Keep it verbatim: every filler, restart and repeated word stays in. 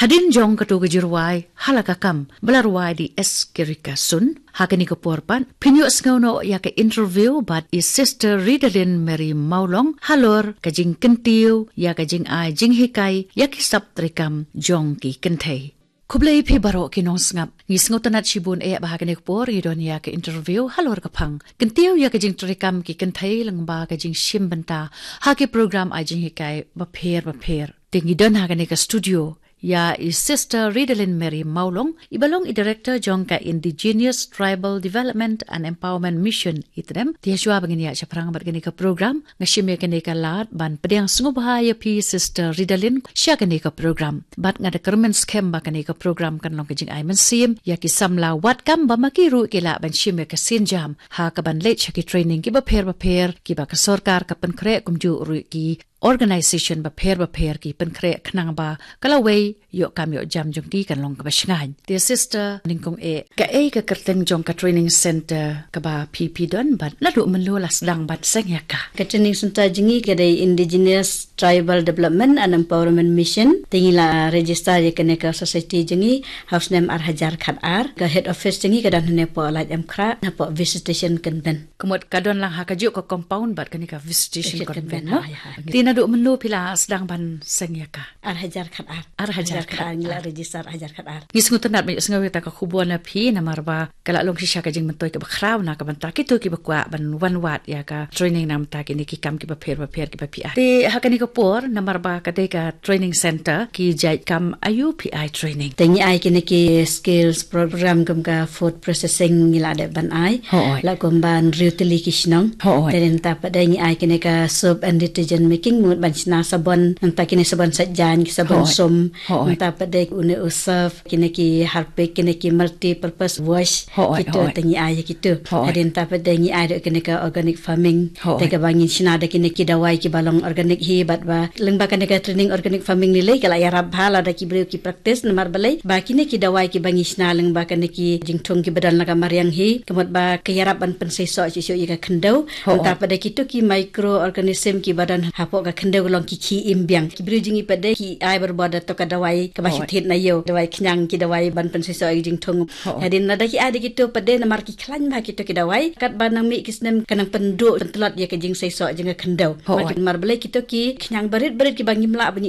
Hadien jong kato ka jingrwai ha la ka kam ba la rwai da i S Kirika Sun, ha kane ka por pat phin ïoh sngew noh ïa ka interview bad i Sister Ridalin Mary Mawlong halor ka jingkyntiew ïa ka jingai jinghikai ïa ki sap treikam jong ki kynthei. Khublei phi baroh ki nongsngap. Ngi sngewtynnat shibun eh ba ha kane ka por ngi don ïa ka interview halor ka phang kyntiew ïa ka jingtreikam ki kynthei lyngba ka jingshim bynta ha ki program ai jinghikai bapher bapher. Te ngi don ha kane ka studio ïa i Sister Ridalin Mary Mawlong, i ba long i Director jong ka Indigenous Tribal Development and Empowerment Mission, i TREM. Te shuwa ba ngin ïa shaphrang bad kane ka program, nga shim ïa kane ka lad ban pdiang sngewbha ïa phi Sister Ridalin sha kane ka program. Bad nga da kyrmen skhem ba kane ka program kan long ka jingai mynsiem ïa ki samla wad kam ba ma ki ruh ki lah ban shim ïa ka sienjam ha kaban leit sha ki training ki bapher bapher ki ba ka sorkar ka pynkhreh, kumjuh ruh ki organisation bapher bapher ki pynkhreh khnang ba ka lawei ïoh kam ïoh jam jong ki kan long kaba shngaiñ. Te Sister, nyngkong eh, kaei ka kyrteng jong ka training center kaba phi phi don bad naduh mynno la sdang ban seng ïa ka? Ka training center jong ngi ka dei Indigenous Tribal Development and Empowerment Mission. Te ngi la register ïa kane ka society jong ngi ha u snem ar hajar khat ar. Ka head office jong ngi ka don hangne hapoh Laitumkhrah, hapoh Visitation Convent. Ka mut ka don lang ha kajuh ka compound bad kane ka Visitation Convent, no? Ïa, ïa. Te naduh mynno phi la sdang ban seng ïa ka? Ar hajar khat ar. Ar hajar khat ar, ngi la register ar hajar khat ar. Ngi sngewtynnat ban ïohsngew ïa kata ka khubor na phi, namar ba ka la long shisha ka jingmyntoi kaba khraw na ka bynta kito kiba kwah ban wan wad ïa ka training na ka bynta kine ki kam kiba pher bapher kiba phi ai. Te ha kane ka por, namar ba ka dei ka training center, ki jait kam aïu phi ai training? Te ngi ai kine ki skills program kum ka food processing ngi la dep ban ai. Hooid. La kumba hynriew tylli ki shnong. Hooid. Te nangta pat de ngi ai kine ka soap and detergent making, mut ban shna sabon, nangta kine sabon sait jaiñ, ki sabon sum. Hooid. Nangta pat de une u surf, kine ki Harpic, kine ki multi purpose wash. Hooid, kito hooid. Te ngi ai ïa kito. Hooid. Hadien nangta pat de ngi ai ruh kine ka organic farming. Hooid. Te kaba ngin shna da kine ki dawai kiba long organic hi bad ba lyngba kane ka training organic farming ni lei ka la ïarap bha lada ki briew ki practice namar balei ba kine ki dawai kiba ngi shna lyngba kane ki jingthung kiba don la ka mariang hi, ka mut ba ka ïarap ban pynseisoh shuh shuh ïa ka khyndew. Hooid. Nangta pat de kito ki microorganism kiba don hapoh ka khyndew ka long ki khie im biang. Ki briew jong ngi pat de ki ai barabor da kato ka dawai kaba, hooid, shi thied na ïew, dawai khñiang, ki dawai ban pynseisoh ïa ka jingthung. Hooid. Hadien lada ki ai da kito pat de namar ki khlaiñ bha kito ki dawai, katba nang mih ki snem ka nang pynduh pyntlot ïa ka jingseisoh jong ka khyndew. Hooid. Namar balei kito ki khñiang barit barit kiba ngim lah ban ïoh